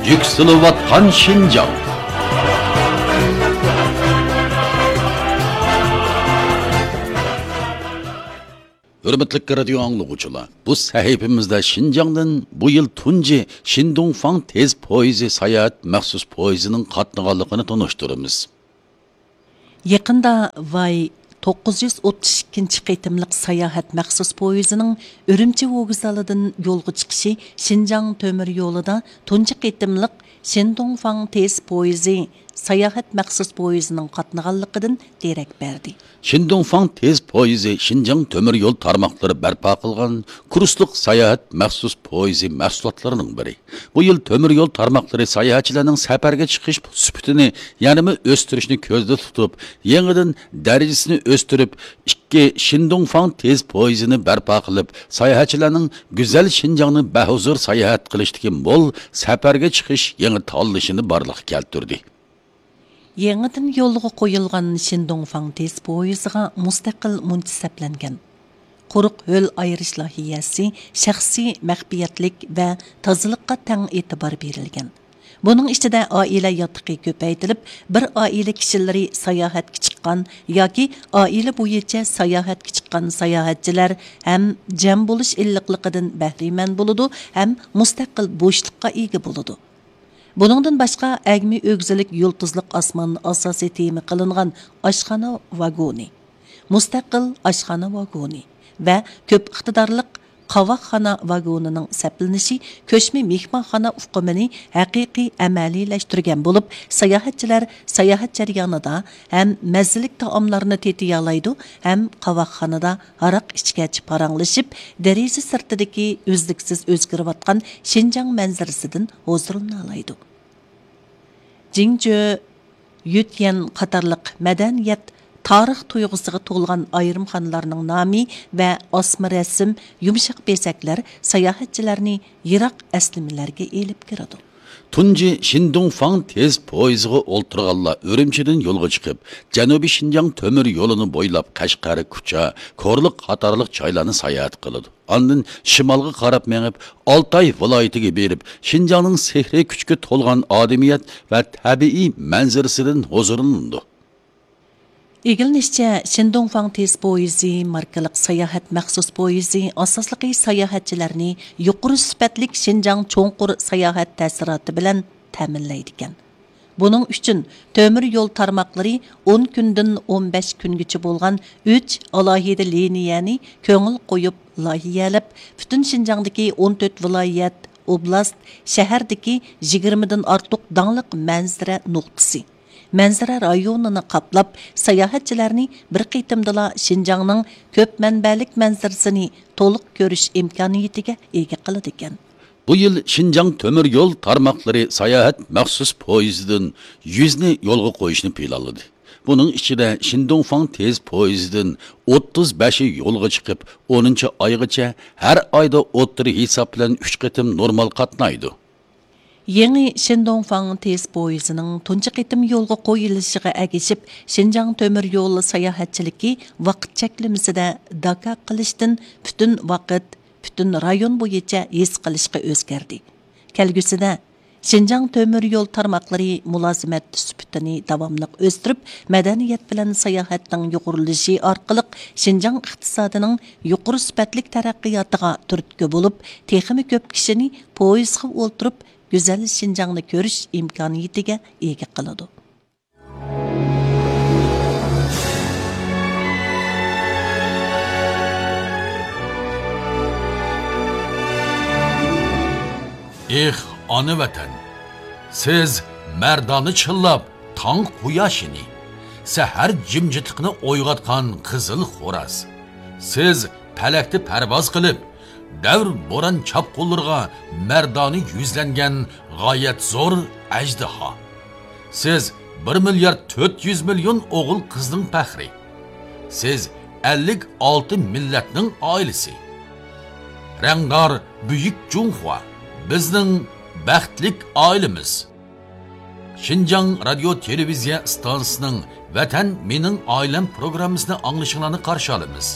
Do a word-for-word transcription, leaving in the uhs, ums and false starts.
يۈكسىلىۋاتقان شىنجاڭ. ھۆرمەتلىك رادىيو ئاڭلىغۇچىلار، بۇ سەھىپىمىزدە شىنجاڭدىن بۇ يىل تۇنجى شىندۇڭفاڭ تېز پويىزى ساياھەت مەخسۇس پويىزىنىڭ قاتنىغانلىقىنى تونۇشتۇرىمىز. يېقىندا ۋاي توققۇز يۈز ئوتتۇز ئىككىنچى قېتىملىق ساياھەت مەخسۇس پويىزىنىڭ ئۈرۈمچى ۋوگزالىدىن يولغا چىقىشى شىنجاڭ تۆمۈر يولىدا تۇنجى قېتىملىق شىندۇڭفاڭ تېز پويىزى ساياھەت مەخسۇس پويىزىنىڭ قاتنىغانلىقىدىن دېرەك بەردى. شىندۇڭفاڭ تېز پويىزى شىنجاڭ تۆمۈر يول تارماقلىرى بەرپا قىلغان كۇرسلۇق ساياھەت مەخسۇس پويىزى مەھسۇلاتلىرىنىڭ بىرى. بۇ يىل تۆمۈر يول تارماقلىرى ساياھەتچىلەرنىڭ سەپەرگە چىقىش سۈپىتىنى يەنىمۇ ئۆستۈرۈشنى كۆزدە تۇتۇپ، يېڭىدىن دەرىجىسىنى ئۆستۈرۈپ، ئىككى شىندۇڭفاڭ تېز پويىزىنى بەرپا قىلىپ، ساياھەتچىلەرنىڭ گۈزەل شىنجاڭنى بەھۇزۇر ساياھەت قىلىشتىكى مول سەپەرگە چىقىش يېڭى تاللىشىنى بارلىققا كەلتۈردى. يېڭىدىن يولغا قويۇلغان شىندۇڭفاڭ تېز پويىزىغا مۇستەقىل مۇنچە سەپلەنگەن. قۇرۇق ھۆل ئايرىش لايىھەسى، شەخسىي مەخپىيەتلىك ۋە تازىلىققا تەڭ ئېتىبار بېرىلگەن. بۇنىڭ ئىچىدە ئائىلە ياتىقى كۆپەيتىلىپ، بىر ئائىلە كىشىلىرى ساياھەتكە چىققان ياكى ئائىلە بويىچە ساياھەتكە چىققان ساياھەتچىلەر ھەم جەم بولۇش ئىللىقلىقىدىن بەھرىمەن بولىدۇ ھەم مۇستەقىل بوشلۇققا ئىگە بولىدۇ. بۇنىڭدىن باشقا، ئەگمە ئۆگزىلىك يۇلتۇزلۇق ئاسمان ئاساسىي تېما قىلىنغان ئاشخانا ۋاگونى، مۇستەقىل ئاشخانا ۋاگونى ۋە كۆپ ئىقتىدارلىق قاۋاقخانا ۋاگونىنىڭ سەپلىنىشى كۆچمە مېھمانخانا ئۇقۇمىنى ھەقىقىي ئەمەلىيلەشتۈرگەن بولۇپ، ساياھەتچىلەر ساياھەت جەريانىدا ھەم مەززىلىك تائاملارنى تېتىيالايدۇ، ھەم قاۋاقخانىدا ھاراق ئىچكەچ پاراڭلىشىپ، دېرىزە سىرتىدىكى ئۈزلۈكسىز ئۆزگىرىۋاتقان شىنجاڭ مەنزىرىسىدىن ھۇزۇرلىنالايدۇ. جىڭجۆ، يۈتيەن قاتارلىق مەدەنىيەت، تارىخ تۇيغۇسىغا تولغان ئايرىم خانىلارنىڭ نامى ۋە ئاسما رەسىم، يۇمشاق بېزەكلەر ساياھەتچىلەرنى يىراق ئەسلىمىلەرگە ئېلىپ كىرىدۇ. تۇنجى شىندۇڭفاڭ تېز پويىزىغا ئولتۇرغانلار ئۈرۈمچىدىن يولغا چىقىپ، جەنۇبىي شىنجاڭ تۆمۈر يولىنى بويلاپ قەشقەر، كۇچا، كورلا قاتارلىق جايلارنى ساياھەت قىلىدۇ. ئاندىن شىمالغا قاراپ مېڭىپ، ئالتاي ۋىلايىتىگە بېرىپ، شىنجاڭنىڭ سېھرىي كۈچكە تولغان ئادىمىيەت ۋە تەبىئىي مەنزىرىسىدىن ھۇزۇرلىنىدۇ. ئىگىلىنىشىچە، شىندۇڭفاڭ تېز پويىزى ماركىلىق ساياھەت مەخسۇس پويىزى ئاساسلىقى ساياھەتچىلەرنى يۇقىرى سۈپەتلىك شىنجاڭ چوڭقۇر ساياھەت تەسىراتى بىلەن تەمىنلەيدىكەن. بۇنىڭ ئۈچۈن تۆمۈر يول تارماقلىرى ئون كۈندىن ئون بەش كۈنگىچە بولغان ئۈچ ئالاھىدە لىنىيەنى كۆڭۈل قويۇپ لايىھەلەپ، پۈتۈن شىنجاڭدىكى ئون تۆت ۋىلايەت، ئوبلاست، شەھەردىكى يىگىرمىدىن ئارتۇق داڭلىق مەنزىرە نۇقتىسى، مەنزىرە رايونىنى قاپلاپ، ساياھەتچىلەرنى بىر قېتىمدىلا شىنجاڭنىڭ كۆپ مەنبەلىك مەنزىرىسىنى تولۇق كۆرۈش ئىمكانىيىتىگە ئىگە قىلىدىكەن. بۇ يىل شىنجاڭ تۆمۈر يول تارماقلىرى ساياھەت مەخسۇس پويىزىدىن يۈزنى يولغا قويۇشنى پىلانلىدى. بۇنىڭ ئىچىدە شىندۇڭفاڭ تېز پويىزىدىن ئوتتۇز بەشى يولغا چىقىپ، ئونىنچى ئايغىچە ھەر ئايدا ئوتتۇرا ھېساب بىلەن ئۈچ قېتىم نورمال قاتنايدۇ. يېڭى شىندۇڭفاڭ تېز پويىزىنىڭ تۇنجى قېتىم يولغا قويۇلۇشىغا ئەگىشىپ، شىنجاڭ تۆمۈر يول ساياھەتچىلىكى ۋاقىت چەكلىمىسىدە داكا قىلىشتىن پۈتۈن ۋاقىت، پۈتۈن رايون بويىچە ھېس قىلىشقا ئۆزگەردى. كەلگۈسىدە شىنجاڭ تۆمۈر يول تارماقلىرى مۇلازىمەت سۈپىتىنى داۋاملىق ئۆستۈرۈپ، مەدەنىيەت بىلەن ساياھەتنىڭ يۇغۇرۇلۇشى ئارقىلىق شىنجاڭ ئىقتىسادىنىڭ يۇقىرى سۈپەتلىك تەرەققىياتىغا تۈرتكە بولۇپ، تېخىمۇ كۆپ كىشىنى پويىزغا ئولتۇرۇپ، گۈزەل شىنجاڭنى كۆرۈش ئىمكانىيىتىگە ئىگە قىلىدۇ. ئېھ، ئانا ۋەتەن! سىز مەردانە چىللاپ تاڭ قۇياشىنى، سەھەر جىمجىتلىقىنى ئويغاتقان قىزىل خوراز. سىز پەلەكتە پەرۋاز قىلىپ، دەۋر بوران چاپقۇنلىرىغا مەردانە يۈزلەنگەن غايەت زور ئەجدىھا. سىز بىر مىليارد تۆت يۈز مىليون ئوغۇل قىزنىڭ پەخرى. سىز ئەللىك ئالتە مىللەتنىڭ ئائىلىسى. رەڭدار بۈيۈك جۇڭخۇا، بىزنىڭ بەختلىك ئائىلىمىز. شىنجاڭ رادىيو تېلېۋىزىيە ئىستانسىسىنىڭ ۋەتەن مېنىڭ ئائىلەم پروگراممىسىنى ئاڭلىشىڭلارنى قارشى ئالىمىز.